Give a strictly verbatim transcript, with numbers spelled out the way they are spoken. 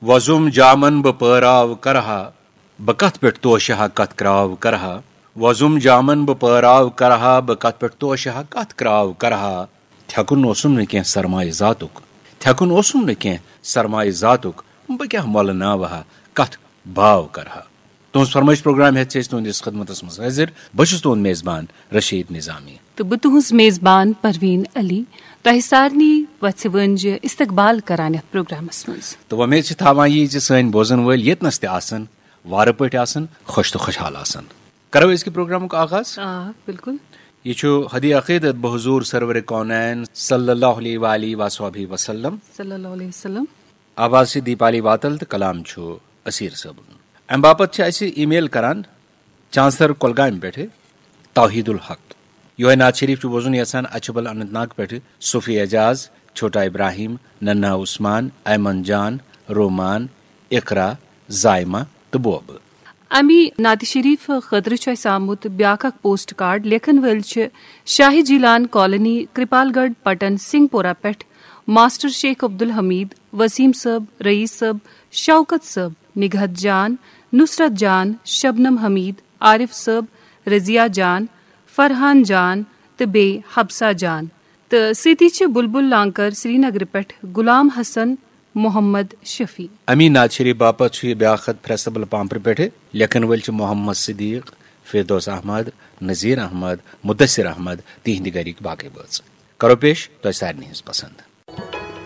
وۄزُم جامن بہٕ پٲراو کرہا، بہٕ کتھ پٮ۪ٹھ توشہٕ ہا کتھ کرٛاو کرہا۔ وۄزُم جامن بہٕ پٲراو کرہا، بہٕ کتھ پٮ۪ٹھ توشہٕ ہا کتھ کرٛاو کرہا۔ تھٮ۪کُن اوسُم نہٕ کینٛہہ سرمایہِ ذاتُک، تھٮ۪کُن اوسُم نہٕ کینٛہہ سرمایہِ ذاتُک، بہٕ کیٛاہ مۄلہٕ ناوٕ ہا، کتھ باو کرہا۔ تُہٕنٛز فرمٲیش پروگرام ہٮ۪تھ چھِ أسۍ تُہٕنٛدِس خدمتس منٛز حٲضِر۔ بہٕ چھُس تُہُنٛد میزبان رشیٖد نظامی۔ تہٕ بہٕ تُہٕنٛز میزبان پروین علی۔ تۄہہِ سارنٕے وژھِ وٲنجہِ استقبال کران یتھ پروگرامس منٛز۔ تہٕ وۄمید چھِ تھاوان یی زِ سٲنۍ بوزن وٲلۍ ییٚتنس تہِ آسن، وارٕ پٲٹھۍ آسن، خۄش تہٕ خۄشحال آسن۔ کرو أزکہِ پروگرامُک آغاز۔ آ، بِلکُل۔ یہِ چھُ ہدی عقیدت بحضور سرور کونین صلی اللہ علیہ وآلہ وصحبہ وسلم۔ صلی اللہ علیہ وسلم۔ آواز چھِ دیپالی واتل تہٕ کلام چھُ اسیٖر صٲبُن۔ امہِ باپتھ چھِ اسہِ ای میل کران چانسر کۄلگامہِ پٮ۪ٹھٕ توحید الحق۔ یِہوٚے نعت شریف چھُ بوزُن یژھان اچھبل اننت ناگ پٮ۪ٹھٕ صوفی اعجاز، چھوٹا ابراہیم، ننہا عثمان، ایمن جان، رومان، اقرا، زائمہ تہٕ بوبہٕ۔ امی نعت شریف خٲطرٕ چھُ اسہِ آمُت بیاکھ اکھ پوسٹ کارڈ۔ لیکھن وٲلۍ چھِ شاہی جیلان کالونی، کرپال گڑھ پٹن، سنگھ پورہ پٮ۪ٹھ ماسٹر شیخ عبدالحمید، وسیم صٲب، رئیس صٲب، شوکت صٲب، نگہت جان، نصرت جان، شبنم حمید، عارف صٲب، رضیہ جان، فرحان جان تہٕ بیٚیہِ حبسہ جان۔ تہٕ سۭتی چھِ بلبل لانکر سرینگرٕ پٮ۪ٹھ غلام حسن محمد شفیع۔ امی نعت شریف باپتھ چھُ یہِ بیاکھ خط پھرستہٕ بل پامپرٕ پٮ۪ٹھٕ۔ لیکھن وٲلۍ چھِ محمد صدیق، فردوس احمد، نذیر احمد، مدثر احمد، تِہنٛدِ گرِکۍ باقٕے بٲژ۔ کرو پیش تۄہہِ سارنٕے ہٕنٛز پسند۔